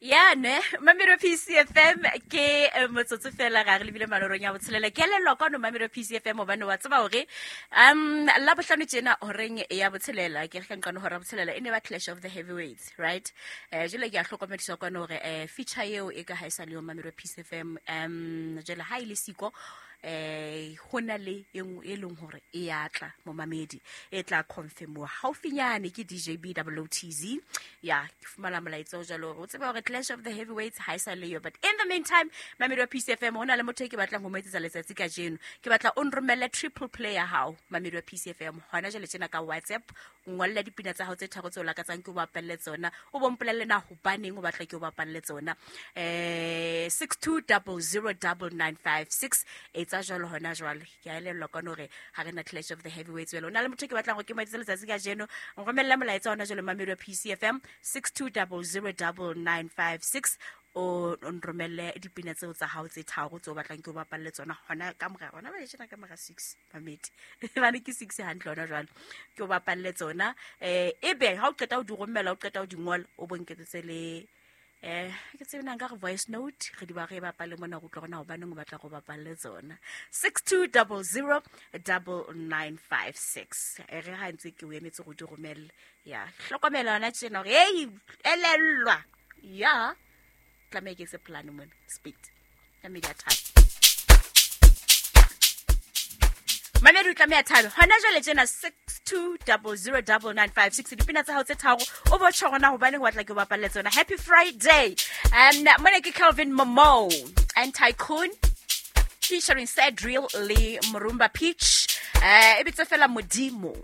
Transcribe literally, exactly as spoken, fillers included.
Ya ne Mamelo P C F M ke motsotso fela ga re lebile malorong ya botshelela. Ke elellwa kwano Mamelo P C F M hobane wa tseba hore um la bohlano tjena horeng ya botshelela ke re ka nqane hora botshelela e ne ba Clash of the Heavyweights, right? Eh jwale ke a hlokomediswa kwano hore eh feature eo e ka ha e sa le yo Mamelo P C F M, um jwale ha e le siko eh hona le e nngwe e leng hore e ya tla momamedi e tla confirm haufinyane ke D J B O T Z. Ya ke fumana molaetsa o jwalo hore o tsebe hore Clash of the Heavyweights ha e sa le yo, but in the meantime Mamelo P C F M hona le motho e ke batlang ho mo etsetsa letsatsi kajeno. Ke batla o nromelle triple play ya hao Mamelo P C F M hona jwale tjena ka WhatsApp, o ngolle dipina tsa hao tse tharo tseo lakatsang ke o bapalle tsona, o bo mpolelle na hobaneng o batla ke o bapalle tsona. Eh six two zero zero nine nine five six etsa jwalo hona jwale. Ke a elellwa kwano hore ha re na Clash of the Heavyweights jwale. O na le motho ke batlang hore ke mo etsetse letsatsi kajeno, nromelle molaetsa hona jwale Mamelo P C F M six two zero zero nine nine five six o nromelle dipina tseo tsa hao tse tharo tseo batlang ke o bapalle tsona hona ka mora hona ba tjena ka mora six mamedi. Bane ke six hantle hona jwale ke o bapalle tsona. Eh ebe ha o qeta ho di romela, o qeta ho di ngola, o bonketsetse le eh ke tsebe na nka re voice note re di ba re bapalle mona go utlwa gona hobaneng o batla go bapalle tsona. Six two zero zero nine nine five six e re ha ntse ke o emetse go di romelle. Ya hlokomela yona tjena hore hey elellwa ya tlameha ke se plan mona speed ya media time. Mamedi o tlameha thabe hona jwale tjena six two zero zero nine nine five six dipina tsa hao tse tharo o bo tjho hona hobaneng o batla ke o bapalle tsona. Happy Friday. Um mona ke Calvin Momo and Tycoon featuring Cedril le Murumba Peach. Eh e bitsa fela Modimo.